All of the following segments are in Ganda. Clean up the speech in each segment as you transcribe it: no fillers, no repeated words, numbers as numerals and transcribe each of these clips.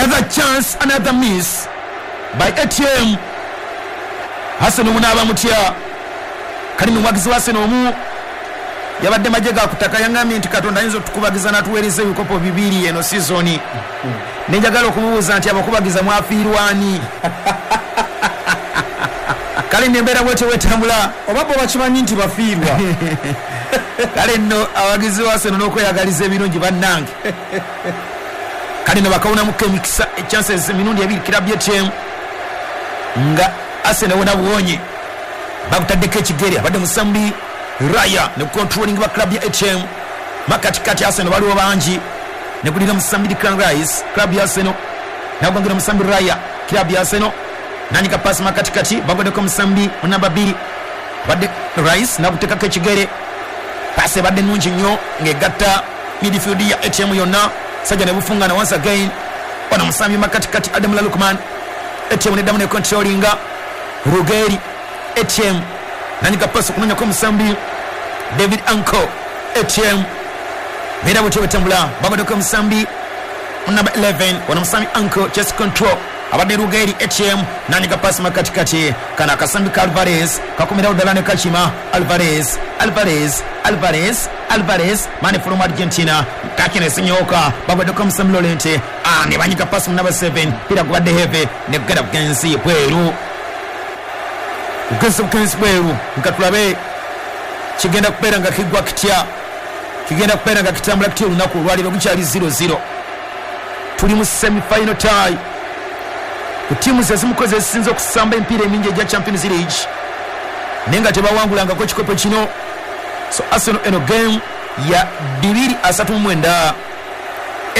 Another chance, another miss by ATM. Arsenal munaaba mutya? Kali muwagizi wa Arsenal omu yabadde majje ga kutaka, yangambye nti Katonda ayinza otukubagiza n'atuweereza ebikopo 2 eno sizoni. Nenjagala okumubuuza nti abakubagiza mwafiirwani? Kale nembeera bwetyo wetambula, oba bo bakimanyi nti bafiirwa. Kale nno abawagizi ba Arsenal n'okweyagaliza ebirungi bannange. Kale nno bakawunamuko emikisa, chances emirundi 2 club ya ATM nga Arsenal wona buwonye. Bakutaddeko ekigere, abadde musambi Raya ne controlling ba club ya ATM. Makatikati Arsenal baliwo bangi, ne kulira musambi Declan Rice club ya Arsenal, nagwangira musambi Raya club ya Arsenal, nanyika pass makatikati bagodeko musambi namba 2 badde Rice nakutekako ekigere. Pass ebadde nnungi nnyo ng'egatta midfield ya ATM yonna, sajja ne bufungana once again. Ono musambi makatikati Adam Lukman, ATM neddamu ne controllinga Rugeri ATM, nanyika pass okunonyako musambi David Anko ATM. Mera bwetyo bwetambula, bagodeko musambi number 11 wana musambi Anko chest control abadde Rugeri ATM, nanyika pass makatikati kana akasambi ka Alvarez kakumirawo ddala ne kachima Alvarez, Alvarez, Alvarez, Alvarez mane from Argentina kakine sinyoka bagodeko musambi Lorente, ne banyika pass mu number 7 pira gubadde heavy ne kugenda bugenzi bweru, bugenzi bweru. Nkatulabe kigenda kubeera nga kigwa kitya, kigenda kubeera nga kitambula kitya olunaku olwaleero. Gukyali 0-0, tuli mu semi final tie ku ttiimu zezimukoze ezisinze okusamba emipiira emingi egya Champions League naye nga tebawangulangako ekikopo kino. So Arsenal eno game ya 239,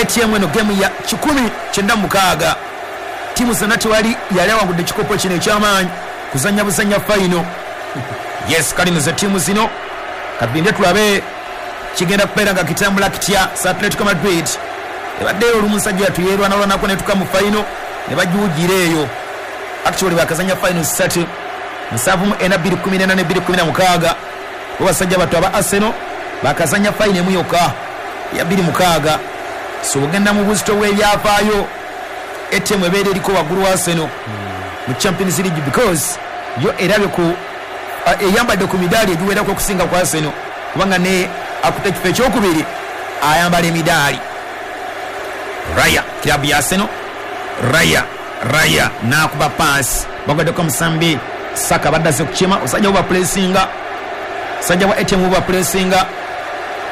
ATM eno game ya 196. Ttiimu zonna tewali yali awangudde ekikopo kino ekyamaanyi kuzannya buzannya final. Yes, kale ze ttiimu zino katulinde tulabe kigenda kubeera nga kitambula kitya. Sa Atletico Madrid ebaddeyo olumu nsajja yatuyerwanalwanako netuka mu final ne bagiwugira eyo. Actually bakazanya final 3 74 214 216. Bo basajja bato aba Arsenal bakazanya final emu yokka ya 26. So bugenda mu buzito bw'ebyafaayo, ATM ebeera eriko waggulu wa Arsenal mu Champions League because yo erabye ku eyambadde ku midaali egiwerako okusinga ku Arsenal, kubanga ne akuta ekifo ekyokubiri ayambala emidaali. Raya club ya Arsenal, Raya, Raya nakuba pass bagoddeko musambi Saka badde azze kukima, osajja buba pressinga, sajja wa ATM buba pressinga,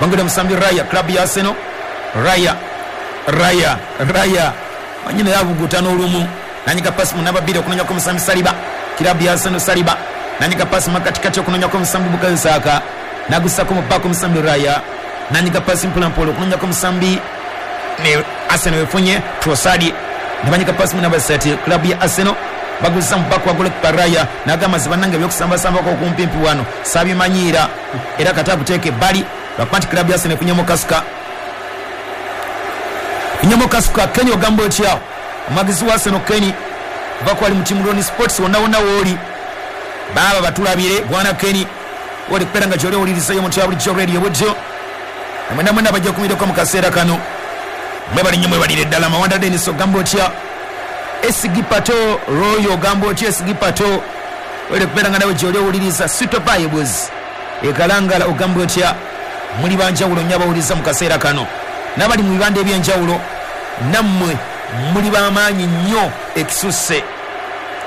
bagudde musambi Raya club ya Arsenal. Raya, Raya, Raya manyina yabuguta n'olumu, nanyika pass mu namba 2 okunonyako musambi Saliba club ya Arsenal. Saliba nanyika pass makatikati okunonyako musambi Bukayo Saka, nagusako mu bako musambi Raya, nanyika pass mpolampola okunonyako musambi ne Arsenal efunye Trossard, ne banyika pass mu namba 7 club ya Arsenal baguza mu bako wa goalkeeper Raya, nagamba zibannange ebyokusambasambako okumpimpi wano sabimanyiira era kata kuteeka ebbali lwakuba nti club ya Arsenal efunyemu kasuka, efunyemu kasuka. Kenny ogamba otya omuwagizi wa Arsenal Kenny kuva kwali mu timu Loni Sports wonna wonna wooli baaba batulabire bwana Kenny oli kubeera nga gyoli owulirizayo omuntu ya bulijjo radio bujjo mwena mwena bajja kumireko mu kaseera kano. Mwebali nnyo mwebalire ddala. Mawanda Dennis ogamba otya? Esigi Pato Royo ogamba otya? Esigi Pato oli kubeera nga nawe gyoli owuliriza. Sweet Vibes ekalangala ogamba otya? Muli banjawulo nnyo abawuliriza mu kaseera kano, n'abali mu bibanda eby'enjawulo nammwe muli b'amaanyi nnyo ekisusse.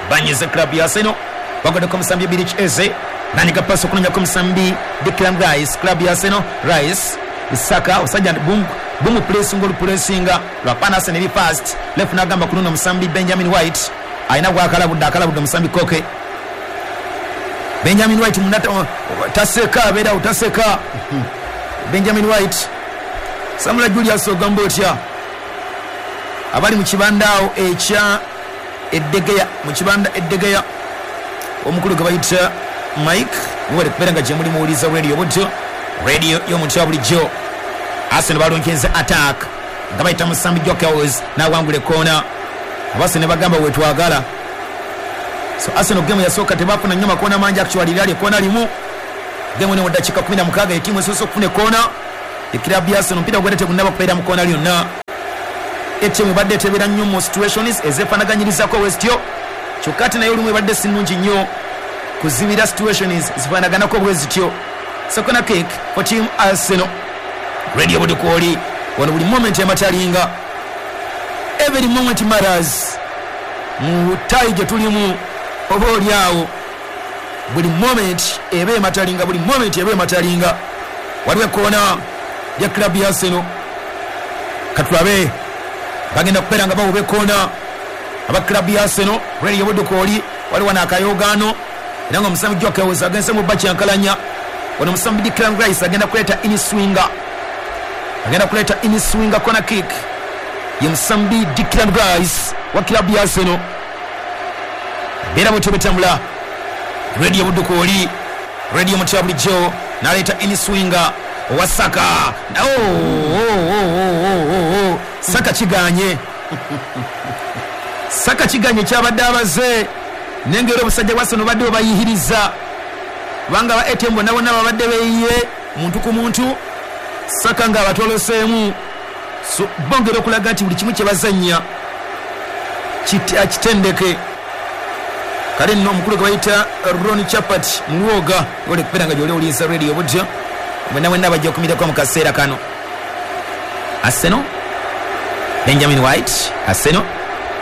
Banyize club ya Arsenal bagoddeko musambi Birich Eze, nanyika pass okunonyako musambi Declan Rice club ya Arsenal. Rice Saka osajja bumu pressinga olupressinga lwapana Arsenal eri fast left, nagamba kununo musambi Benjamin White alina gwakalabudde, akalabudde musambi Koke. Benjamin White munata taseka abeera utaseka Benjamin White. Samuel Julius ogamba otya? Abali mu kibanda awo ekya Eddegeya, mu kibanda Eddegeya omukulu gwe bayita Mike mwebale kubeera nga gye muli muwuliza radio bujjo, radio y'omuntu wa bulijjo. Arsenal balonkenze attack nga bayita musambi Jokers n'awangula ekkoona, Arsenal bagamba wetwagala. So Arsenal game yasooka tebafuna nnyo makoona mangi, actually lyali ekkoona limu. Game eno mu ddakiika 16 ettiimu esoose okufuna ekkoona ekirabu ya Arsenal, omupiira gwedde tegunnaba kubeera mu kkoona lyonna. ATM ebadde etebera nnyo mu situations ezefaanaganyirizaako westyo, kyokka ate naye olumu ebadde si nnungi nnyo kuzibira situations zifaanaganako bwe zityo. Corner kick for team Arsenal. Radio Budukwoli wano buli moment ematalinga, every moment matters mu tie gye tulimu, oba oli awo buli moment eba ematalinga, buli moment eba ematalinga. Waliwo ekkoona lya club ya Arsenal, katulabe bagenda kubeera nga bawuba ekkoona aba club ya Arsenal. Radio Budukwoli waliwo n'akayogaano era nga omusambi Gyökeres agenze mu bakyankalanya. Wano omusambi Declan Rice agenda kuleeta inswinger, agenda kuleeta inswinger corner kick ye musambi Declan Rice wa club ya Arsenal. Beera bwetyo betambula. Radio Budukwoli, Radio mutya bulijjo n'aleeta inswinger owa Saka. Saka kiganye, Saka kiganye kyabadde abaze nengera obusajja bwa Arsenal badde obayihiriza, kubanga ba ATM bonna bonna babadde beeyiye muntu ku muntu. Saka nga abatoloseemu, so bongera okulaga nti buli kimu kye bazannya kitendeke. Kale nno omukulu gwe bayita Ron Chapat Mulwoga ole kubeera nga gy'oli owuliriza Radio Budyo, mwenna mwenna bajja okumirako mu kaseera kano. Arsenal, Benjamin White, Arsenal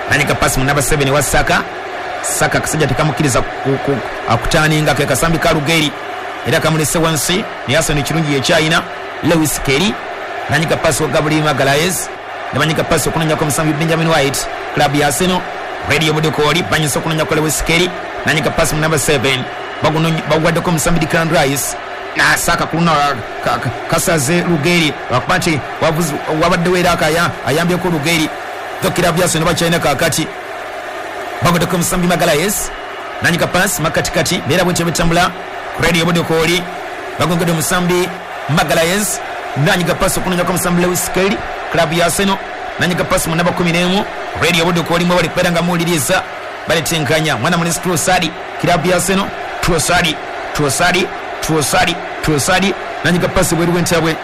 nanyika pasi mu namba 7 wa Saka. Saka kasajja tekamukkiriza akutaninga ke kasambi ka Lugeri era kamulese wansi, naye Arsenal ekirungi yekyayina. Lewis Kelly nanyika pasi wa Gabriel Magalhaes, nabanyika pasi okunonyako omusambi Benjamin White, club ya Arsenal. Radio Budukwoli banyisa okunonyako Lewis Kelly, nanyika pasi mu namba 7 bagwaddeko omusambi Declan Rice na Saka kuluna kasaze Lugeri lwakuba nti wabaddewo era ayambyeko Lugeri. Club ya Arsenal bakyalina kaakati, bagwaddeko omusambi Magalhaes, nanyika pasi makatikati, beera bwetyo betambula. Radio Budukwoli bagongedde omusambi Magalhaes, nanyika pasi okunonyako omusambi Lewis Kelly, club ya Arsenal, nanyika pasi mu namba 11. Radio Budukwoli mwe bali kubeera nga muwuliriza baletenkanya mwana mulesi Trossard, club ya Arsenal. Trossard, Trossard, Trossard, Trossard nanyika pasi bweru bwentabwe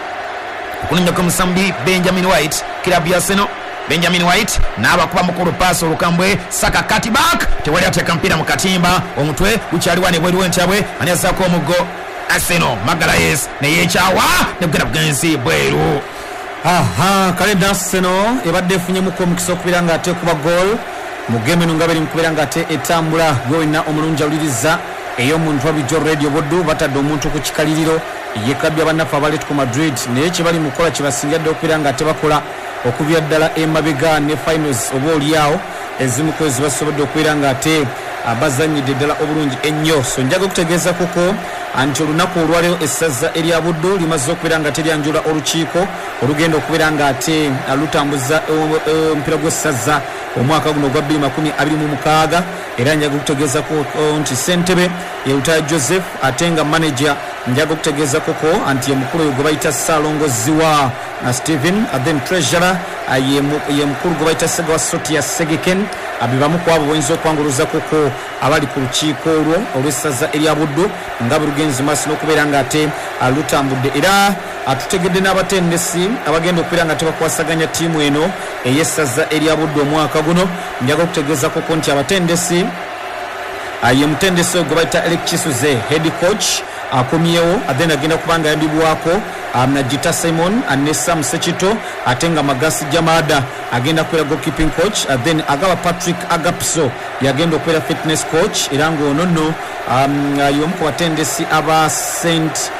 okunonyako omusambi Benjamin White, club ya Arsenal. Benjamin White n'abakuba mukulu paasi olukambwe, Saka cut back, tewali ateeka mpira mu katimba, omutwe gukyali wane bweru w'entabwe, ani azzaako omuggo Arsenal. Magalhaes neyeekyawa negugenda bugenzi bweru. Aha, kale Arsenal ebadde efunyemuko omukisa okubeera nga ate kuba goal mu game eno nga beri mukubeera nga ate etambula. Gwe wenna omulungi awuliriza ey'omuntu wa bulijjo Radio Buddu, batadde omuntu ku kikaliriro ye club y'abannaffe aba Atletico Madrid, naye kye bali mu kukola kyebasinga dde okubeera nga tebakola okuvira ddala emabega ne finals oba oliawo ezimu ku ezo basobodde okubeera nga ate bazannyidde ddala obulungi ennyo. So njaga okutegeeza kuko nti olunaku olwaleero essaza erya Buddu limaze okubeera nga teryanjula olukiiko olugenda okubeera nga ate lutambuza omupiira gw'essaza omwaka guno ogwa 2026. Era njaga okutegeezako nti ssentebe ye Lutaaya Joseph, ate nga manager njaga okutegeezako ko nti ye mukulu oyo gwe bayita Ssaalongo Ziwa Stephen, then treasurer ye mukulu gwe bayita Ssegawa Sotia Segeken. Be bamu ku abo boyinza okwanguluzako ko abali ku lukiiko olwo olw'essaza erya Buddu nga bwe lugenze maaso n'okubeera nga ate lutambudde. Era atutegedde n'abatendesi abagenda okubeera nga tebakwasaganya ttiimu eno ey'essaza erya Buddu omwaka guno. Njaga okutegeezako ko nti abatendesi ye mutendesi gwe bayita Eric Kisuze head coach akomyewo, then agenda kuba nga ayambibwako Najita Simon ne Sam Sekito, ate nga Magasi Jamada agenda kubeera goalkeeping coach, then Agaba Patrick Agapso yagenda okubeera fitness coach. Era ng'ono nno y'omu ku batendesi aba St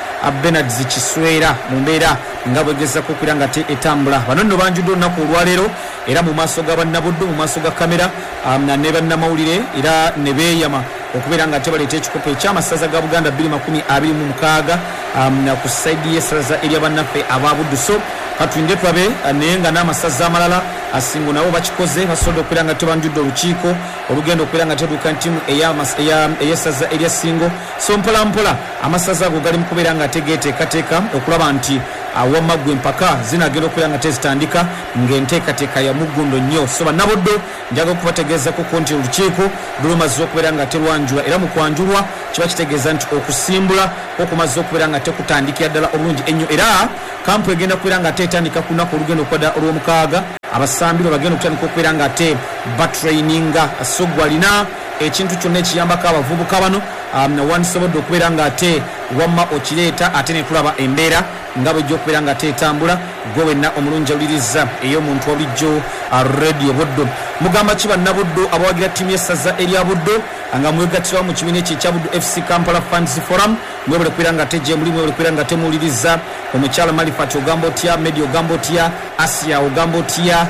Bernards Kiswera mu mbeera nga bwegezako okubeera nga te etambula. Bano nno banjudde olunaku olwaleero era mu maaso ga bannabuddu, mu maaso ga kamera ne bannamawulire, era ne beeyama okubeera nga tebaleeta ekikopo ekyamasaza ga Buganda 2026 ku saidi y'essaza erya bannaffe aba Buddu. So katulinde tulabe, naye nga n'amasaza amalala asingo nabo bakikoze, basobodde okubeera nga tebanjudde olukiiko olugenda okubeera nga teduuka ntiimu ey'essaza erya Ssingo. So mpola mpola amasaza ago gali mu kubeera nga tegeeteekateeka okulaba nti awamma ggwe empaka zinagenda okubeera nga tezitandika ng'enteekateeka ya muggundo nnyo. So bannabuddu njaga okubategeezako ko nti olukiiko lumaze okubeera nga terwanjulwa, era mu kwanjulwa kiba kitegeeza nti okusimbula okumaze okubeera nga tekutandikira ddala obulungi ennyo. Era kampu egenda kubeera nga tetandika ku lunaku olugenda okwadda olw'omukaaga. Abasambi lwe bagenda okutandika okubeera nga ate batraininga. So gwalina ekintu kyonna ekiyambako abavubuka bano, wandisobodde okubeera nga ate wamma okireeta, ate netulaba embeera nga bwejja okubeera nga ate etambula. Gwe wenna omulungi awuliriza ey'omuntu wabulijjo Radio Buddu, mugamba ki bannabuddu abawagira ttiimu y'essaza erya Buddu nga mwegattirawo mu kibiina ekyo ekya Buddu FC Kampala Fans Forum? Mwebale kubeera nga ate gye muli, mwebale kubeera nga temuwuliriza. Omukyala Malifat ogamba otya? Medi ogamba otya? Asia ogamba otya?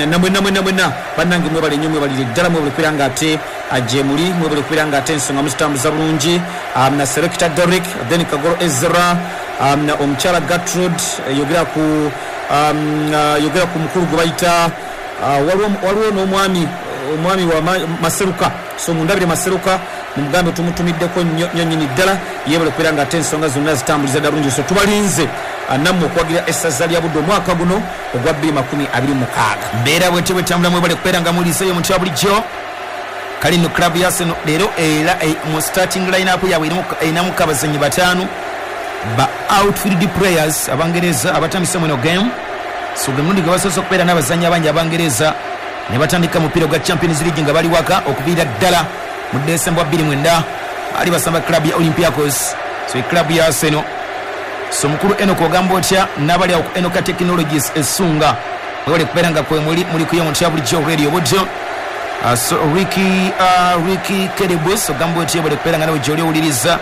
Namwena mwena mwena bannange, mwebale nnyo, mwebalire ddala, mwebale kubeera nga ate gye muli, mwebale kubeera nga ate ensonga muzitambuza bulungi. Na Selector Derrick, then Kagoro Ezra, omukyala Gertrude, yogera ku mukulu gwe bayita, waliwo n'omwami, omwami wa Maseruka. So mundabire Maseruka, mumugambe tumutumiddeko nnyo nnyo nnyini ddala. Yebale kubeera nga ate ensonga zonna zitambuliza ddala bulungi. So tubalinze nammwe okuwagira essaza lya Buddu omwaka guno ogwa 2026. Mbeera bwete bwetambula. Mwebale kubeera nga muliseeyo omuntu wa bulijjo. Kale nno club ya Arsenal leero era mu starting line-up yaabwe erinamuko abazanyi bataano ba outfield players Abangereza abatandise mweno game. So gwe mulundi gwe basoose okubeera n'abazanyi abangi Abangereza ne batandika mupiira gwa Champions League nga bali waka okuviira ddala mu Desemba 29 baali basamba club ya Olympiacos. So e club ya Arsenal. So mukulu Enok ogamba otya n'abali awo ku Enoka Technologies esunga? Mwebale kubeera nga kwe muli, muli kuyo muntu ya bulijjo Radio Buddo. So Ricky Kerebus ogamba otya? Bale kubeera nga nawe gyoli owuliriza.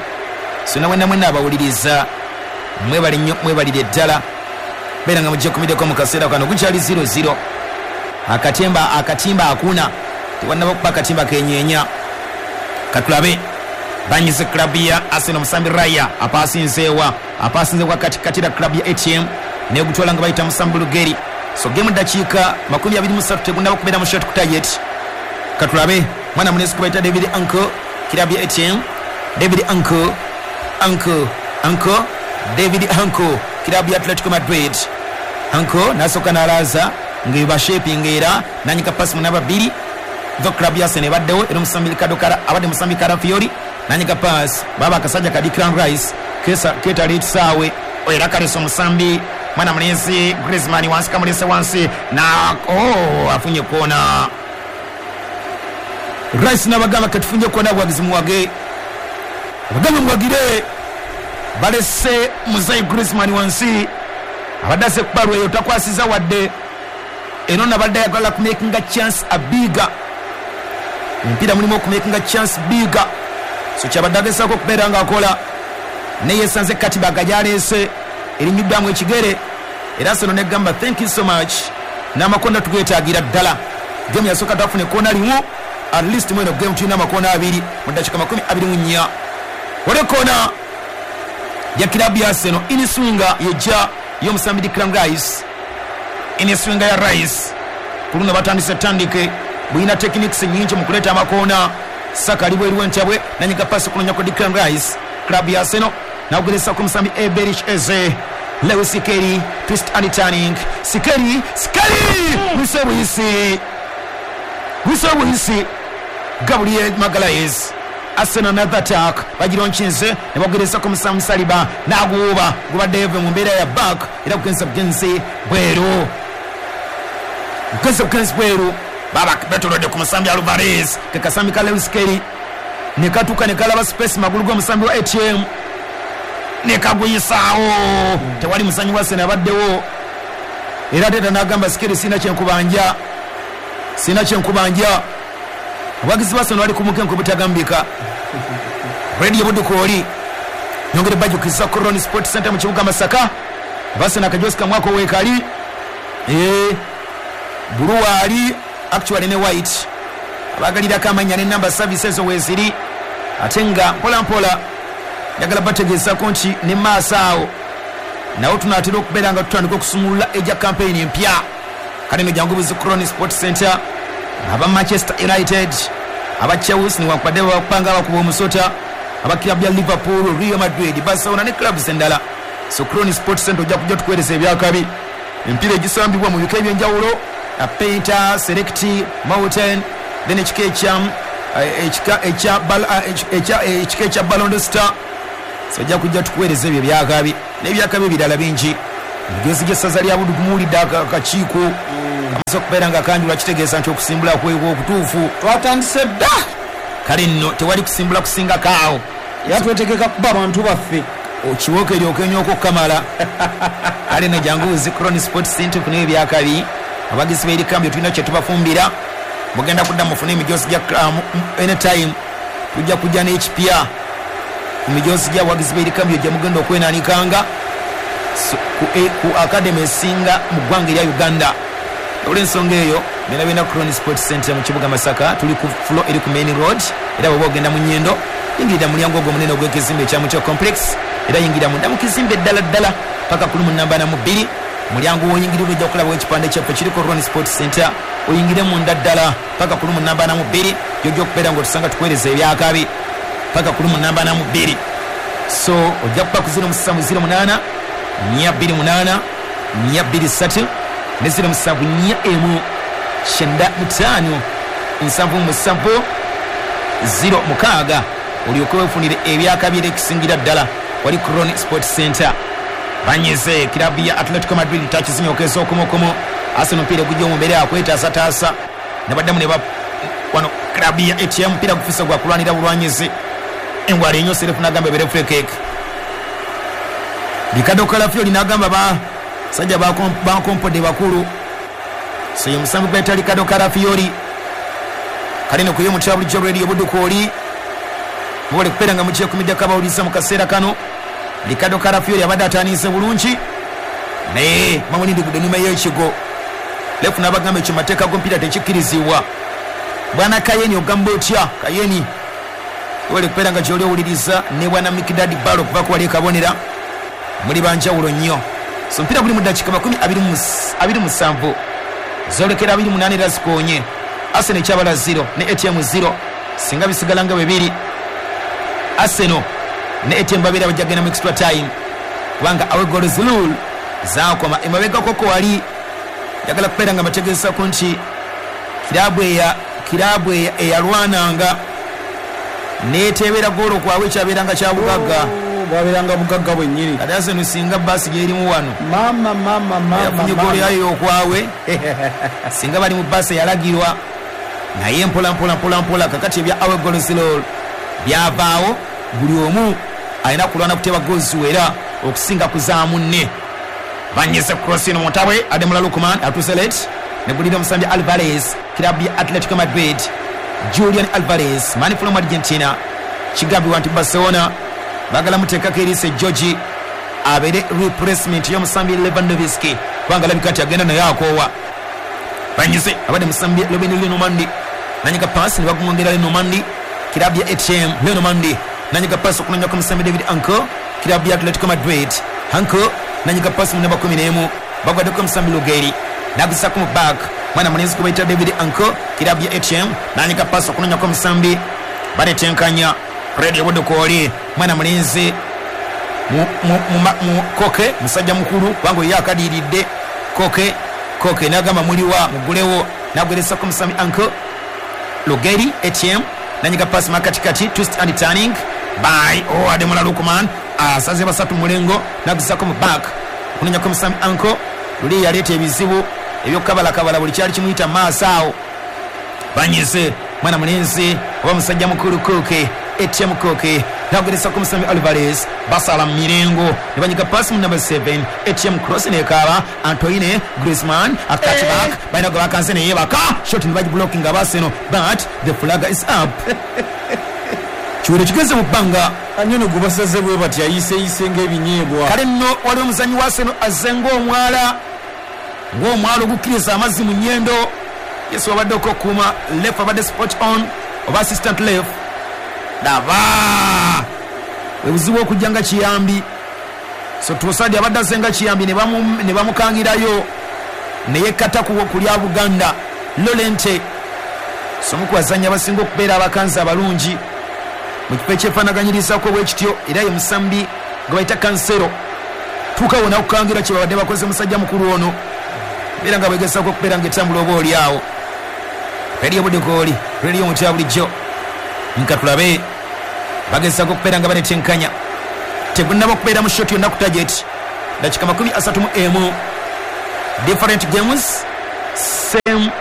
So nawe namwe naabawuliriza, mwebale nnyo, mwebalire ddala beera nga mujja kumiddeko mu kaseera kano. Gukyali 0-0. Akatimba, akatimba akuna, tewannaba kuba akatimba kenyeenya. Katulabe banyize club ya Arsenal. Musambi Raya apasinzeewa? Apasinze kwa katikati la club ya ATM negutwala nga bayita musambi Lugeri. So game dakiika 23, tegunaba kubeera mu shot ku target. Katulabe mwana munesi kubaita David Anko, club ya ATM. David Anko, Anko, Anko, David Anko, club ya Atletico Madrid. Anko nasooka n'alaaza nga bashaping era nanyika pasi munaba bbiri. The club ya Arsenal ebaddewo era omusambi Ricardo Kara abadde musambi Calafiori nanyika pasi baba akasajja ka Declan Rice kesa ketala ekisaawe era kalesa omusambi mwana mulenzi Griezmann wansi, kamulese wansi na oh, afunye kona. Rice n'abagamba katufunye kona, bwagizi muwage, abagambe muwagire. Balese muzayi Griezmann wansi, abadde ase kubalwa eyo takwasiza wadde eno, nabadde ayagala kumakinga chance abiga. Omupiira mulimu okumakinga chance biga, so kyabadde agezaako okubeera ng'akola, naye yesanze katibaga gyaleese erinyuddwamu ekigere. Era Arsenal negamba thank you so much, n'amakonda tugeetaagira ddala. Game yasooka twafuna ekkoona limu, at least mweno game tulina amakoona abiri mu ddakiika 24. Wali ekkoona ya kilabu ya Arsenal, iniswinga yejja y'omusambi Declan Rice, iniswinga ya Rice. Ku luno batandise tandike bulina techniques nyingi mu kuleeta amakoona. Saka ali bweru w'entabwe, nanyiga pasi kunonya ku Declan Rice, club ya Arsenal, nakugeresa ku musambi Eberechi Eze. Lewis Skelly, twist and turning. Skelly, Skelly, bwise bwisi, bwise bwisi, Gabriel Magalhaes. Arsenal another attack, bagironkinze ne bageresa ku musambi Saliba, naguuba gubadde eve mu mbeera ya back era kugenza bugenzi bweru, kugenza bugenzi bweru. Baba betolodde ku musambi Alvarez, ke kasambi ka Lewis Skelly ne katuuka ne kalaba space magulu g'omusambi wa ATM ne kaguyisaawo. Tewali muzanyi wa Arsenal abaddewo. Era teta n'agamba Skelly, sina kyenkubanja, sina kyenkubanja. Abawagizi ba Arsenal bali ku mukenke obutagambika. Radio Budukooli nyongere bajukiza ku Ron Sport Center mu kibuga Masaka. Arsenal akajosi kamwako weekali blue ali actually ne white, abagalirako amanya ne number service ezo weeziri. Ate nga mpola mpola njagala bategeezako nti ne maaso awo nawo tunaatera okubeera nga tutandika okusumulula ejja campaign empya. Kale no jangu buzi ku Ron Sport Center. Aba Manchester United, aba Chelsea, newankubadde bakupanga abakuba omusota, aba club ya Liverpool, Real Madrid, Barcelona ne clubs endala. So Ron Sport Center ojja kujja tukuweereza ebyakabi, emipiira egisambibwa mu bika ebyenjawulo, Painter, Select, Mountain, then ekika ekya ekika ekya Ballon Star. So ojja kujja tukuweereza ebyo ebyakabi n'ebyakabi ebirala bingi. Emigenzi gy'essaza lya Buddu gumuwulidde akakiiko. Kamaze okubeera nga kanjulwa, kitegeeza nti okusimbula kwekwo okutuufu. Twatandise dda. Kale nno tewali kusimbula kusingako awo. Era twetegeka kuba abantu baffe. Okiwoka eryoka enyoka okukamala. Kale nno jangu zi Crown Sport Center ofune ebyakabi. Abagizi b'erikambyo tulina kye tubafumbira. Mugenda kudda mufune emijoozi gya anytime. Tujja kujja n'ekipya ku mijoozi gy'abawagizi b'erikambyo gye mugenda okwenanikanga ku academy esinga mu ggwanga erya Uganda. Olw'ensonga eyo byonna byonna Crown Sport Center mu kibuga Masaka, tuli ku floor eri ku main road. Era bw'oba ogenda mu Nyendo, yingirira mulyango ogwo omunene ogw'ekizimbe ekya Mutyo Complex, era yingira munda mu kizimbe ddala ddala paka ku lumu namba na mu bbiri. Mulyango w'oyingirira ojja kulabawo ekipande kyaffe kiriko Crown Sport Center, oyingire munda ddala paka ku lumu namba na mu bbiri, gy'ojja okubeera ng'otusanga tukuweereza ebyakabi paka ku lumu namba na mu bbiri. So ojja kuba ku 0708 428 423 ne 0741 95 77 06, olyoke weefunire ebyakabi era ekisingira ddala wali Crown Sport Center. Banyize kirabu ya Atletico Madrid takizinyookeza okumukumu. Arsenal omupiira gujja mu mbeera yakwetaasataasa, ne baddamu ne wano kirabu ya ATM omupiira gufuuse gwa kulwanira bulwanyizi. Engwala enyo serefu n'agamba ebeere free kick. Ricardo Calafiori n'agamba basajja bankompodde bakulu. So ye musambi gw'ayita Ricardo Calafiori. Kale nno ku yo mutya bulijjo Radio Buddu kwoli mubale kubeera nga mukyekumiddeko abawuliriza mu kaseera kano. Ricardo Calafiori abadde atandise bulungi naye bamulindigudde ennyuma y'ekigo. Lefu n'abagamba ekyo mateeka g'omupiira tekikkirizibwa. Bwana Kayeni ogamba otya? Kayeni webale kubeera nga gy'oli owuliriza ne bwana Mikdad Balo okuva ku wali e Kabonera, muli banjawulo nnyo. So omupiira guli mu ddakiika 27 zoolekera 28 era zikoonye. Arsenal ekyabala 0 ne ATM 0. Singa bisigala nga bwe biri, Arsenal ne ATM babeera bajja kugenda mu extra time, kubanga away goals rule zaakoma emabega koko wali. Njagala kubeera nga mbategeezako nti kiraabu eyalwananga neeteebera goolo kwabwe ekyabeeranga kya bugagga. Bwabeeranga bugagga bwennyini. Kati Arsenal singa baasi gyerimu wano, mama mama mama, yafunye goolo yayo okwabwe, singa bali mu baasi eyalagirwa. Naye mpola mpola mpola mpola kakati ebya away goals rule byavaawo. Buli omu alina kulwana kuteeba goals wera okusinga ku za munne. Banyize cross ino muntabwe Ademola Lookman atuuse late negulira omusambi Alvarez, kirabu ya Atletico Madrid. Julian Alvarez, man from Argentina. Kigambibwa nti Barcelona baagala muteekako eriiso George abeere replacement y'omusambi Lewandowski, kubanga alabika nti agenda naye akoowa. Banyize abadde musambi Robin Lenormand, nanyiga paasi ne bagumwongera Lenormand, kirabu ya ATM. Lenormand nanyiga paasi okunonyako omusambi David Anko, kirabu ya Atletico Madrid. Anko nanyiga paasi mu namba 11, bagwaddeko omusambi Lugeri, nagusako mu back mwana mulenzi kubaita David Anko, kirabu ya ATM, nanyiga paasi okunonyako omusambi baletenkanya Radio Buddu kwoli mwana mulenzi mu Koke, musajja mukulu kubanga ye akadiridde. Koke Koke n'agamba muliwa mugulewo, nagweresako omusambi Anko Lugeri ATM, nanyiga paasi makatikati, twist and turning by Ademola Lookman, asaze basatu mulengo, nagusako mu back kunonyako omusambi Anko. Luli yaleeta ebizibu ebyokukabalakabala buli kyali kimuyita maaso awo. Banyize mwana mulenzi oba musajja mukulu Koke ATM Koke, nagweresako omusambi Alvarez, basala mu mirengo ne banyiga paasi mu number 7 ATM, cross nekaaba Antoine Griezmann, a cut back balina gwe bakanze neyebaka shot ne bagiblockinga Arsenal, but the flag is up. Kiwere kigenze mu bbanga. Anyono gwe basaze bwe bati ayiseeyise ng'ebinyeebwa. Kale nno waliwo omuzannyi wa Arsenal azze ng'omwala ogukkiriza amazzi mu nnyendo. Yesu wabadde okukuuma left, abadde spot on oba assistant left. Daba obuzibu okujja nga kiyambi. So Trossard abadde azze nga kiyambi ne bamukangirayo ne yekkata ku lya Buganda Lolente. So omu ku bazannyi abasinga okubeera abakanzi abalungi mu kifo ekyefaanaganyirizaako bwe kityo, era ye musambi gwe bayita Cancelo. Tuuka wona okukangira kye babadde bakoze musajja mukulu ono, era nga bwegezaako okubeera ng'etambula oba oli awo. Radio Buddu kwoli, radio mutya bulijjo, nka tulabe bagezaako okubeera nga banetenkanya. Tegunnaba okubeera mu shot yonna ku target. Dakika 31, different games, Same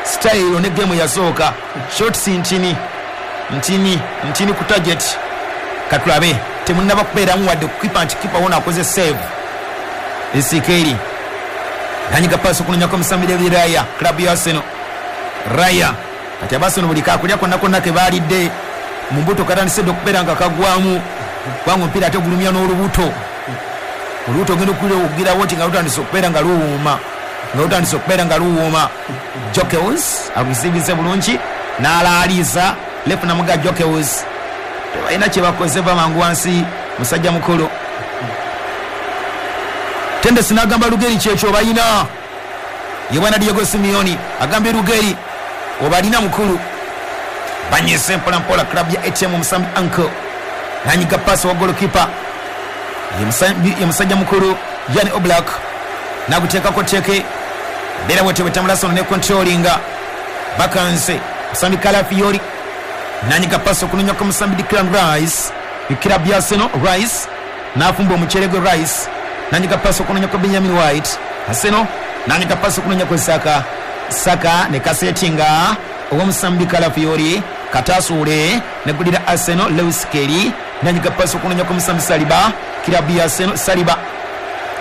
style ne game yasooka, shots ntini ntini ntini ku target. Katulabe, temunnaba kubeeramu wadde kukipa nti kipa wona akoze save. Esikeri nanyiga pasi okunonyako omusambi David Raya, club ya Arsenal. Raya kati abaseno buli kakulya konna konna ke baalidde mu mbuto katandise dde okubeera nga kagwamu, kubanga omupiira ate gulumya n'olubuto. Olubuto ogenda okugirawo nti nga lutandise okubeera nga luwuuma, nga lutandise okubeera nga luwuuma. Jokels agusibize bulungi n'alaaliza lefu namuga Jokels, tebalina kye bakoze, va mangu wansi musajja mukulu. Tendesi n'agamba Lugeri kyekyo obalina. Ye bwana Diego Simeone agambye Lugeri obalina mukulu. Banyise mpola mpola club ya ATM, omusambi Uncle nanyiga pasi wa goalkeeper ye musajja mukulu Jan Oblak, naguteekako teke mbeera bwetyo bwetambula sono ne controllinga bakanse. Musambi Calafiori nanyiga pasi okunonyako musambi Declan Rice, club ya Arsenal. Rice n'afumba omuceere gwe. Rice nanyiga pasi okunonyako Benjamin White, Arsenal. Nanyiga pasi okunonyako Saka, Saka ne kasetinga ow'omusambi Calafiori, katasuule negulira Arsenal. Lewis Kelly nanyiga pasi okunonyako omusambi Saliba, club ya Arsenal. Saliba,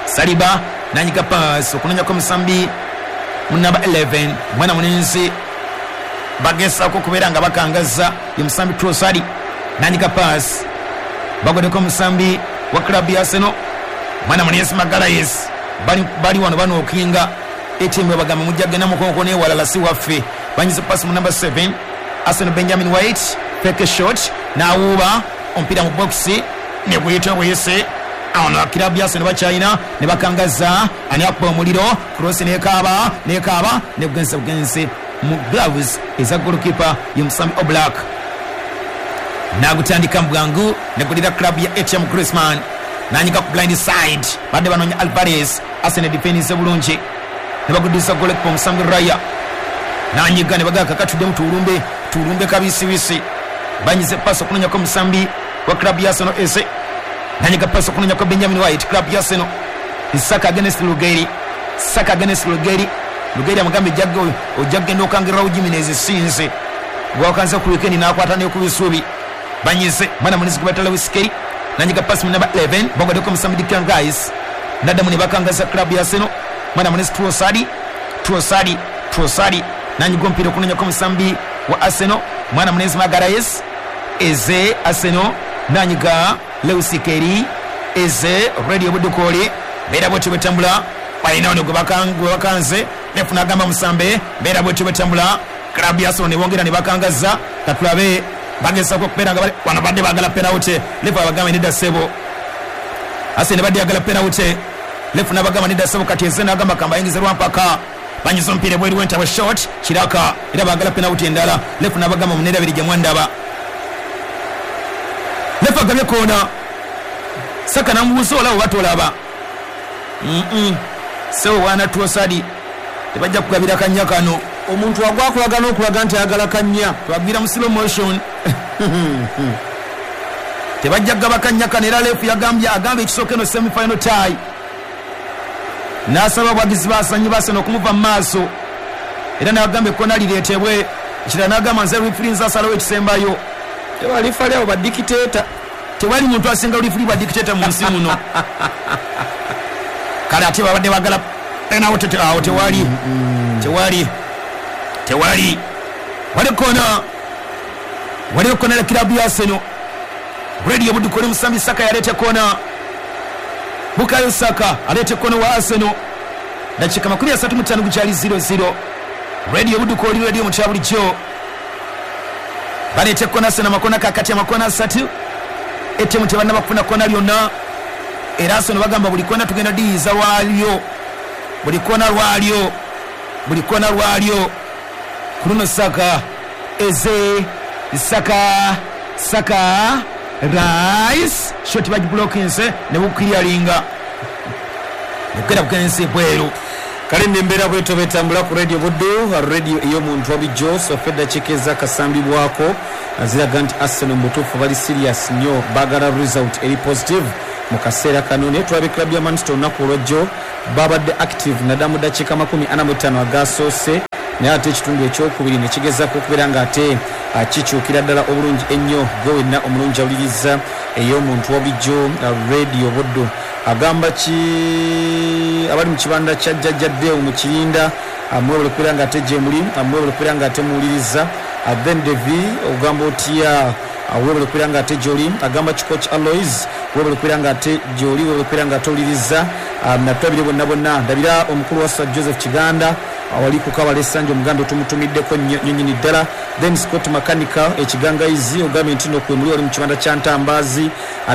Saliba nanyiga pasi okunonyako omusambi mu namba 11, mwana mulenzi bagezaako okubeera nga bakangaza, ye musambi Trossard. Nanyiga pasi, bagodeko omusambi wa club ya Arsenal, mwana mulenzi Magalhaes. Bali wano banookinga etimu, bagamba mujja genda mukonko newalala, si waffe. Banyize pasi mu namba 7 Arsenal, Benjamin White, fake shot n'awuuba omupiira mu box ne guyita buyise. Awo club ya Arsenal bakyalina ne bakangaza. Ani akuba omuliro? Cross nekaaba nekaaba nebugenze bugenze mu gloves eza goalkeeper ye musambi Oblak, nagutandika mu bwangu negulira club ya ATM. Griezmann nanyiga ku blind side, badde banoonya Alvarez. Arsenal defense bulungi ne bagudiza goalkeeper omusambi Raya, nanyiga ne bagaka katuddemu tuulumbe tuulumbe kabisibisi. Banyize pasi okunonyako omusambi wa club ya Arsenal Eze, nanyiga pasi okunonyako Benjamin White, club ya Arsenal. Saka against Lugeri, Saka against Lugeri. Lugeri amugambye ojja kugenda okangirirawo Jimenez, sinze gwakanze ku weekend n'akwata ne ku bisubi. Banyize mwana munisi gwe Lewis Kelly, nanyiga pasi mu namba 11, bagodeko omusambi Declan Rice, naddamu ne bakangaza club ya Arsenal, mwana munisi Trossard, Trossard, Trossard nanyiga omupiira okunonyako omusambi wa Arsenal, mwana munisi Magalhaes. Eze, Arsenal, nanyiga Lewis Kelly. Eze, Radio Budukoli, mbeera bwetyo bwetambula. Balina ono gwe bakanze, lefu n'agamba musambe. Mbeera bwetyo bwetambula, club ya Arsenal ne bongera ne bakangaza. Katulabe, bagezaako okubeera nga wano badde baagala penalty, lefu abagamba nedda ssebo. Arsenal badde yagala penalty, lefu n'abagamba nedda ssebo. Kati Eze n'agamba kambayingize lwampaka. Banyiza omupiira ebweru w'entabwe, shot kiraka, era baagala penalty endala. Lefu n'abagamba muneerabiri gye mwandaba. Lefu agabye koona. Saka namubuuza olaba oba tolaba. Sebo bwana Trossard, tebajja kugabira kanya kano. Omuntu agwakulaga n'okulaga nti ayagala kanya. Twagwira mu slow motion, tebajja kugaba kanya kano. Era lefu yagambye, agambye ekisooka eno semi final tie, n'asaba abawagizi basanyi baseno okumuva mu maaso, era n'agamba ekkona lireetebwe. Ekirala n'agamba nze referee nze asalawo ekisembayo. Tewalifali abo badikiteeta. Tewali muntu asinga referee bwa dictator mu nsi muno. Kale ate babadde bagala penalty, awo tewali, tewali, tewali. Wali kona, wali kona la club ya Arsenal. Radio Budukoli, musambi Saka yalete kona, Bukayo Saka alete kona wa Arsenal. Dakika 35 gukyali 0-0. Radio Budukoli, radio mukya bulijjo. Balete kona Arsenal, makona kakati ya makona asatu. Etemu tebannaba kufuna kona lyonna, era Arsenal bagamba buli kona tugenda diyiza waalyo, buli kona lwalyo, buli kona lwalyo. Ku luno Saka, Eze, Saka, Saka, Rice, shot bagiblokinse ne bukiryalinga bukera bukense bweru. Kale nembeera bwetyo betambula ku Radio Buddu, radio ey'omuntu wabijjo. So eddakiika ezakasambibwako ziraga nti Arsenal mu butuufu bali serious nnyo, baagala result eri positive mu kaseera kano. Naye tulabe club ya Manchester olunaku olwajjo Babadde active naddala mu ddakiika 45 agasoose, naye ate ekitundu ekyokubiri ne kigezaako okubeera nga ate kikyukira ddala obulungi ennyo. Gwe wenna omulungi awuliriza ey'omuntu wa bulijjo Radio Buddu, agamba ki abali mu kibanda kya Jjajja Deo mu Kirinda, mwebale okubeera nga ate gye muli, mwebale okubeera nga ate muwuliriza. Then Devi, ogamba otya? Webale okubeera nga ate gyoli. Agamba ki Coach Alois, webale okubeera nga ate gyoli, webale okubeera nga ate owuliriza. Natulabire bonna bonna, ndabira omukulu wa Sir Joseph Kiganda awali ku Kabala Essanja, omugambe tumutumiddeko nnyo nnyo nnyini ddala. Then Scott Makanika Ekigangayizi, ogambye nti no kwe muli, wali mu kibanda kya Ntambaazi.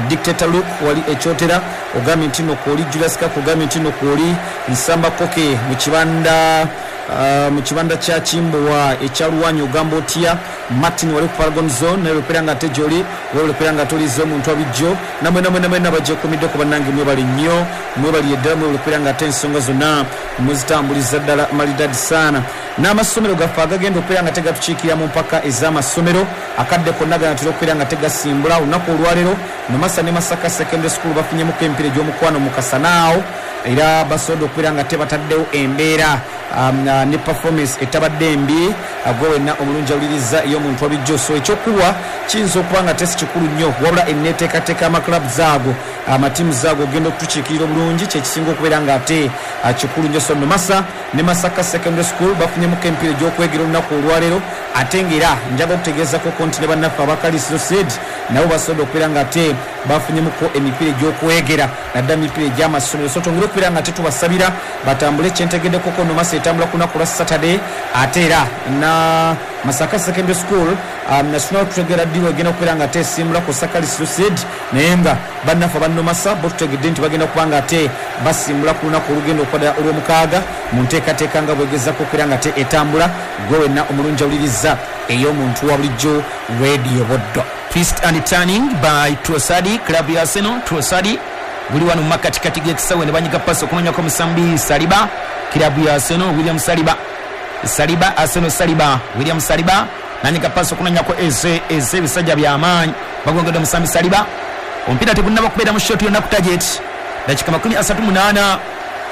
Dictator Luke wali Ekyotera, ogambye nti no kwoli. Julius Kaka, ogambye nti no kwoli. Nsamba Koke mu kibanda kya Kimbowa ekya Luwanyi, ogamba otya? Martin wali ku Paragon Zone, naye okubeera nga ate gyoli, webale okubeera nga ate omuntu abijjo. Namwe namwe namwe nabagyekuumiddeko bannange, mwebale nnyo, mwebalire ddala, mwebale okubeera nga ate ensonga zonna muzitambuliza ddala malidadi saana. N'amasomero gaffe agagenda okubeera nga tegatukiikirira mu mpaka ez'amasomero, akadde konna ganatera okubeera nga tegasimbula. Olunaku olwaleero Nomasa ne Masaka Secondary School bafunyemuko emipiira egy'omukwano mu kasanaawo, era basobodde okubeera nga tebataddewo embeera ne performance etabadde mbi. Gwe wenna omulungi awuliriza ey'omuntu wabijjo, so ekyokubwa kiyinza okuba nga tesi kikulu nnyo, wabula enneeteekateeka y'amaclubs ago, amatiimu zaago ogenda okutukiikirira obulungi, kyekisinga okubeera nga ate kikulu nnyo. So Nomasa ne Masaka Secondary School bafunyemuko emipiira egy'okwegera olunaku olwaleero. Ate ng'era njaga okutegeezako nti ne bannaffe abakalisiro Sid nabo basobodde okubeera nga ate bafunyemuko emipiira egy'okwegera, naddala emipiira egy'amasomero. So twongere okubeera nga tetubasabira batambule. Kyentegeddeko ko Nomasa etambula ku lunaku lwa Saturday, ate era na Masaka Secondary School national tutegera ddi egenda okubeera nga ate esimbula ku Sakalisiro Sid, naye nga bannaffe abannomasa bo tutegedde nti bagenda kuba nga ate basimbula ku lunaku olugenda okwadala olw'omukaaga, mu nteekateeka nga bwegezako okubeera nga ate etambula. Gwe wenna omulungi awuliriza ey'omuntu wa bulijjo Radio Boddo. Twist and turning by Trossard, club ya Arsenal. Trossard guli wano mu makatikati g'ekisawe ne banyiga pasi okunonyako omusambi Saliba, club ya Arsenal, William Saliba. Saliba, Arsenal, Saliba, William Saliba nanyiga pasi okunonyako Eze. Eze, ebisajja by'amaanyi bagongedde omusambi Saliba. Omupiira tegunnaba kubeera mu shot yonna ku target. Dakika 38,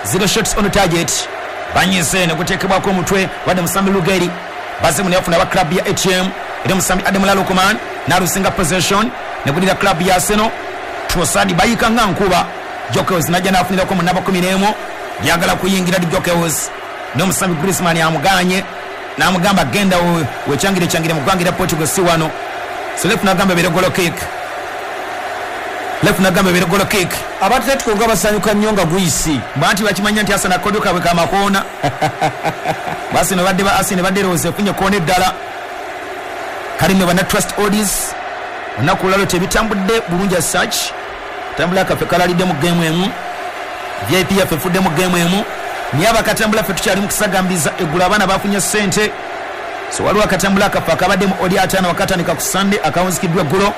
0 shots on target. Banyize ne guteekebwako omutwe wadde musambi Lugeri baze ne bafuna aba club ya ATM, era omusambi Ademola Lookman n'alusinga possession ne gulira club ya Arsenal. Trossard bayika nga nkuba. Gyökeres najja n'afunirako mu namba 11, lyagala kuyingira di Gyökeres, n'omusambi Griezmann amuganye n'amugamba genda wekyangire kyangire mu ggwanga erya Portugal, si wano. So ref n'agamba ebeere goal kick, ref n'agamba ebeere goal kick. Abatletico nga basanyuka nnyo nga guyisi. Bwanti bakimanya nti Arsenal akodyo kaabwe kamakoona. Arsenal badde ba Arsenal badde erowooza efunye koona eddala. Kale nno bana Trust Odds, olunaku olwalwo tebitambudde bulungi as such. Tambula kaffe kalalidde mu geemu emu, VIP yaffe efudde mu geemu emu, naye abakatambula ffe tukyali mu kusagambiza. Eggulo abaana bafunye ssente, so waliwo akatambula akaffe akabadde mu odi 50 wakatandika ku Sunday akawunzikiddwa eggulo,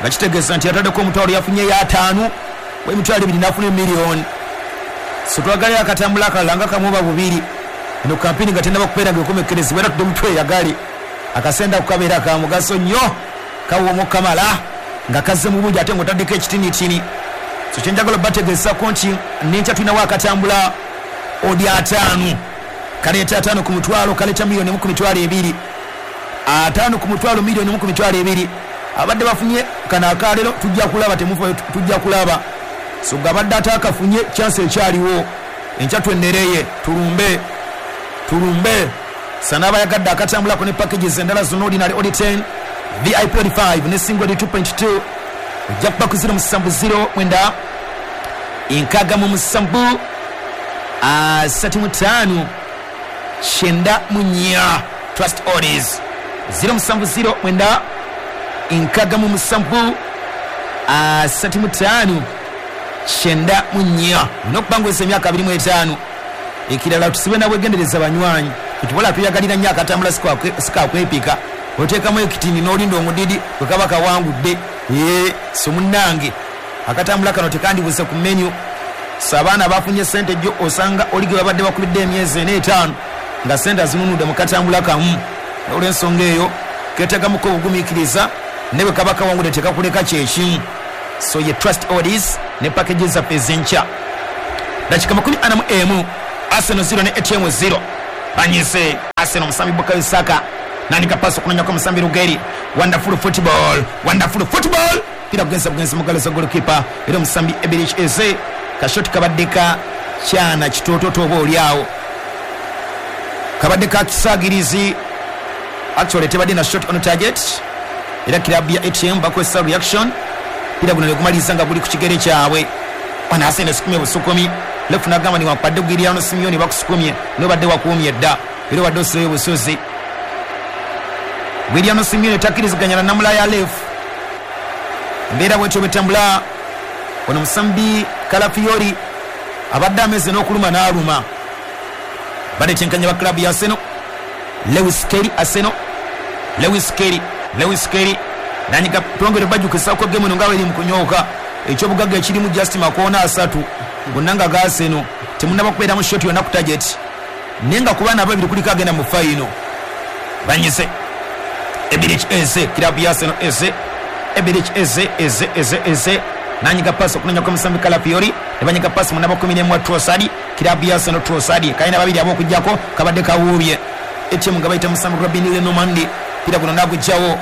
nga kitegeeza nti yataddeko omutwalo yafunyeyo 50, 20,000 n'afuna emiliyoni. So twagalayo akatambula akalala nga kamu oba bubiri, eno kampini nga tennaba kubeera nga ekomekkerezebwa, era tudde mutweyagale. Akasente ako kabeera ka mugaso nnyo, kawooma okukamala nga kazze mu bungi ate ng'otaddeko ekitinitini. So kyenjagala obategeezako nti nenkya tulinawo akatambula odi 50, kaleeta 50 ku mutwalo, kaleeta 1 1,200,000. 50 ku mutwalo, 1 1,200,000. Abadde bafunye kano akalero tujja kulaba, temufa tujja kulaba. So gabadde atakafunye chance ekyaliwo, enkya twennereye tulumbe tulumbe. Sana abayagadde akatambulako ne packages endala zonna, ordinary odi 10, VIP odi 5 ne single odi 2.2, ojja kuba ku 070 967 35 94. Trust Odds 070 967 35 94. Olina emyaka 25. Ekirala tusibe nabwegendereza banywanyi, ekibola tuyagalira nnyo akatambula sikakwepika, oteekamu ekitini n'olinda omudidi bwe kaba kawangudde. So munnange akatambula kano tekandibuze ku menu. So abaana bafunye sente jjo, osanga oli gwe babadde bakubidde emyezi ena etaano nga sente azinunudde mu katambula kamu. Olw'ensonga eyo ketegamuko obugumiikiriza, ne bwe kaba kawangudde tekakuleka kyekimu. So ye Trust Odds ne packages zaffe ez'enkya. Dakika 41, Arsenal 0 ne ATM 0. Banyise Arsenal, musambi Bukayo Saka nandika pasi okunonyako omusambi Rugeri. Wonderful football, wonderful football, pira kugenza bugenzi mugalo za goalkeeper era omusambi Eberechi Eze. Kashoti kabadde ka kyana kitototo oba oliawo kabadde ka kisagirizi, actually tebadde na shot on target, era kirabu ya ATM bakozesa reaction, pira guno negumaliza nga guli ku kigere kyabwe. Wana Arsenal esukumye busukumi, left nagamba ni wakwadde Gideon Simeone bakusukumye nobadde wakuumye dda era obadde osireyo busozi. Gideon Simeone takkiriziganya na namula ya left, embeera bwetyo bwetambula. Ono musambi Calafiori abadde ameze n'okuluma n'aluma. Banetenkanya ba club ya Arsenal, Lewis Kelly, Arsenal, Lewis Kelly, Lewis Kelly nanyiga twongere bajjukisako game eno nga bweri mu kunyooka. Ekyobugagga ekirimu just makoona 3 gonna nga ga Arsenal, temunnaba kubeeramu shot yonna ku target, naye nga ku baana ababiri kuliko agenda mu final. Banyise Eberechi Eze, club ya Arsenal Eze, Eberechi Eze, Eze, Eze, Eze nanyiga pasi okunonya kwa musambi Calafiori, ne banyiga pasi munaba 11 Trossard, club ya Arsenal Trossard kalina babiri ab'okuggyako kabadde kawuubye. ATM nga bayita musambi Robin Lenormand, pira guno nagugjawo.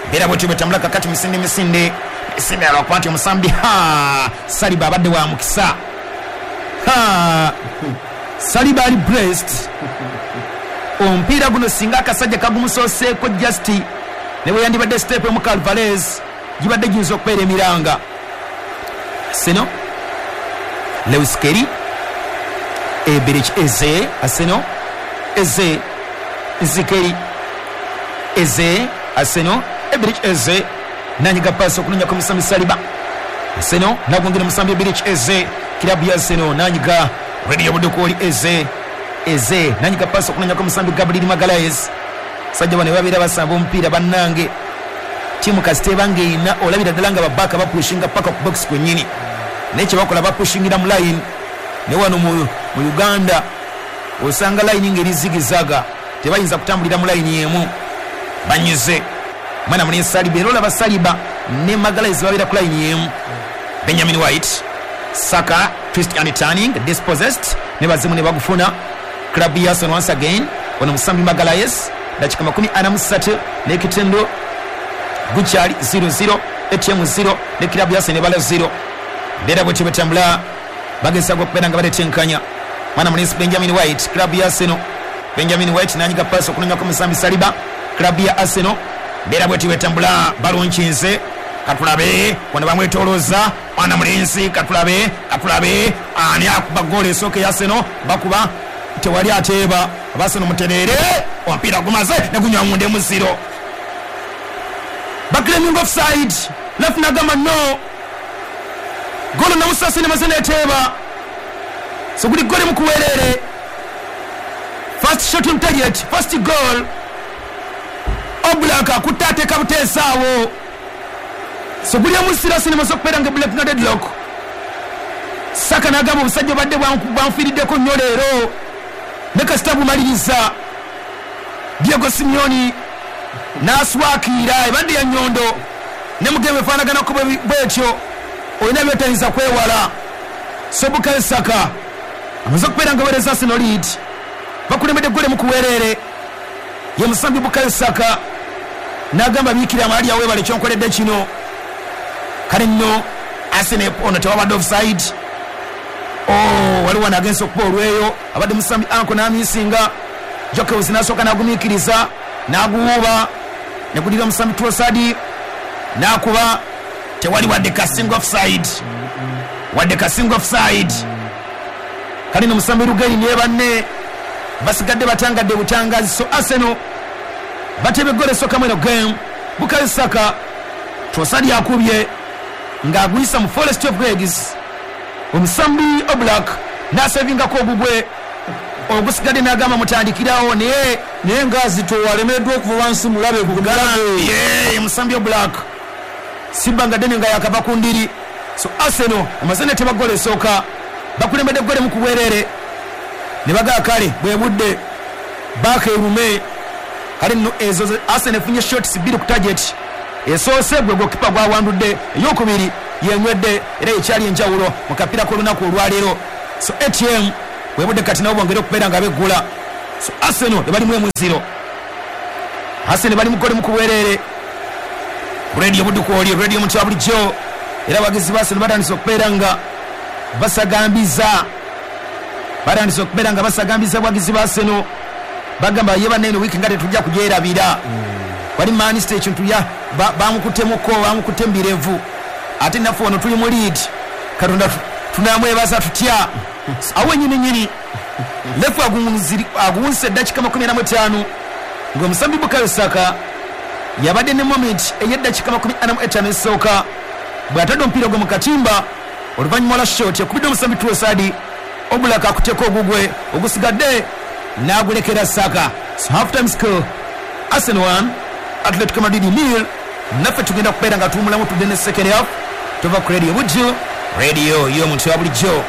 Mbeera bwetyo bwetambula kakati misinde misinde misinde alwakuba nti omusambi ha Saliba abadde wa mukisa. Ha Saliba ali blessed. Omupiira guno singa akasajja kagumusooseeko just ne bwe yandibadde step emu Alvarez gibadde giyinza okubeera emiranga. Arsenal, Lewis Kelly, Eberechi Eze, Arsenal, Eze, Zikeri, Eze, Arsenal, Eberechi Eze nanyiga pasi okunonya ku musambi Saliba. Arsenal nagongera musambi Eberechi Eze, kirabu ya Arsenal nanyiga Radio Budokoli Eze, Eze nanyiga pasi okunonya ku musambi Gabriel Magalhaes. Sajja bano babeera basamba omupiira bannange, tiimu kasita ebanga erina olabira ddala nga babaka bapushinga paka ku box kwennyini, naye kye bakola bapushingira mu line. Ne wano mu Uganda osanga line ng'eri zigizaga, tebayinza kutambulira mu line emu. Banyize mwana muli Saliba, era olaba Saliba ne Magalhaes babeera ku line emu. Benjamin White, Saka, twist and turning, dispossessed, ne bazimu ne bagufuna. Club ya Arsenal once again, ono musambi Magalhaes, dakika 43 n'ekitendo gukyali 0-0, ATM 0 ne club ya Arsenal ebala 0. Mbeera bwetyo bwetambula, bagezaako okubeera nga baletenkanya. Mwana mulenzi Benjamin White, club ya Arsenal, Benjamin White nanyiga pasi okunonyako musambi Saliba, club ya Arsenal. Mbeera bwetyo bwetambula, balonkinze, katulabe wano bamwetolooza mwana mulenzi, katulabe, katulabe ani akuba goolo esooka eya Arsenal, bakuba tewali ateeba, Arsenal mutereere, omupiira gumaze ne gunywa munda emu 0. Baclaiming offside, left nagamba no, golo namusasi nemaze neteeba, so guli goli mukuwerere. First shot on target, first goal. Oblak akutte ateeka buteesaawo, so guli emusira sinemaze okubeera nga black na deadlock. Saka n'agamba obusajja obadde bwanfiiriddeko nnyo leero, ne kasita bumaliriza. Diego Simeone n'aswakiira ebadde ya nnyondo ne mugeme efaanaganako bwetyo, olina byotayinza kwewala. So Bukayo Saka amaze okubeera nga weereza Arsenal lead, bakulembedde gole mu kuweerere. Ye musambi Bukayo Saka n'agamba biikira amaali aweebale kyonkoledde kino. Kale nno Arsenal ono tewabadde offside. Oh, waliwo nagenza okuba olweyo, abadde musambi anko n'amisinga, Jokewis n'asooka n'agumiikiriza n'aguwuuba ne gulira omusambi Trossard n'akuba, tewali wadde kasinga offside, wadde kasinga offside. Kale nno musambi Rugeri ne banne basigadde batangadde butangazi. So Arsenal batebe eggolo esooka mu eno game. Bukayo Saka, Trossard akubye ng'aguyisa mu Forest of Legs, omusambi Oblak n'asevingako ogugwe ogusigadde n'agamba mutandikirawo, naye naye ng'azitowa alemereddwa okuva wansi mulabe ye musambi Oblak sibanga ddene nga yakava ku ndiri. So Arsenal amaze neteba ggoolo esooka, bakulembedde ggoolo mu kubwerere, ne bagaa kale bwe budde baaka erume. Kale nno ezo Arsenal efunye shots 2 ku target, esoose gwe gokipa gwawandudde, eyokubiri yenywedde, era ekyali enjawulo mu kapiira k'olunaku olwaleero. So ATM webudde kati nabo bongere okubeera nga beggula. So Arsenal ebalimu 1-0, Arsenal bali mukole mukubwerere. Radio Buddu kwoli radio muntu wa bulijjo, era abawagizi ba Arsenal batandise okubeera nga basagambiza, batandise okubeera nga basagambiza abawagizi ba Arsenal, bagamba ye banne eno wiiki nga tetujja kugyerabira. Wali Manchester ekintu ya bamukutemuko, bamukutte mu birevu, ate naffe wano tuli mu lead, Katonda tunamwebaza tutya? Awo nyini nyini lefu aguwunzise eddakiika 45 ng'omusambi Bukayo Saka yabadde ne moment ey'eddakiika 45 esooka bw'atadde omupiira gwe mu katimba oluvannyuma lwa shot ekubidde omusambi Trossard, Oblak akutteko ogugwe ogusigadde n'agulekera Saka. So half time score Arsenal 1 Atletico Madrid 0. Naffe tugenda kubeera nga tuwumulamu tudde ne second half. Tova ku Radio Buddu, radio y'omuntu wa bulijjo.